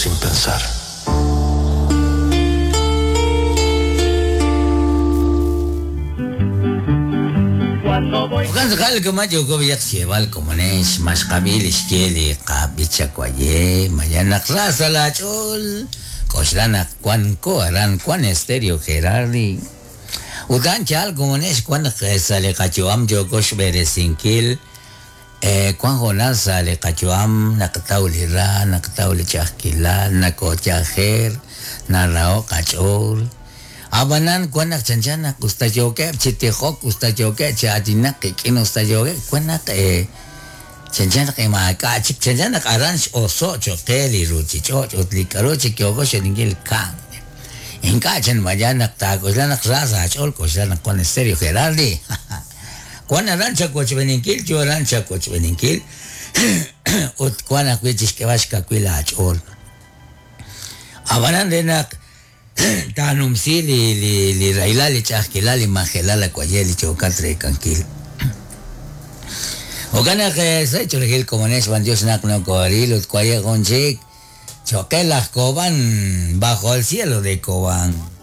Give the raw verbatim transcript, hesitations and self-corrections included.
sin pensar. Ukan sakal kumayo ko biyak siyebal komones mas kabil iskieli kabichakwaye mayanak rasa la chol koslanak kwan ko aran kwan Estéreo Gerardi utan chal komones kwan sale kachuam jokos beresinkil eh kwan jonal sale kachuam naktaulira naktauli chakila nakochajer narao kachol Abanan kuanak chanchanak usta yoke chitijok usta yoke chatinak kikin usta yoke kuanak eh chanchanak imaka chik chanchanak aranch oso chokeli ruchicho utlikaro chikyoko sheningil kan inka chan mayanak takoslanak rasa chol koslanak kuan Estéreo Gerardi kuan arancha kochbeninkil yo arancha kochbeninkil ut kuanak wichishkebashka kuila chol abanan denak tanumsi li li li raila li chakila li majela la cuaye li chocatre canquil Ogana que se churgil como nes van Dios nak no coril ut cuaye gonchik choque las coban bajo el cielo de Cobán.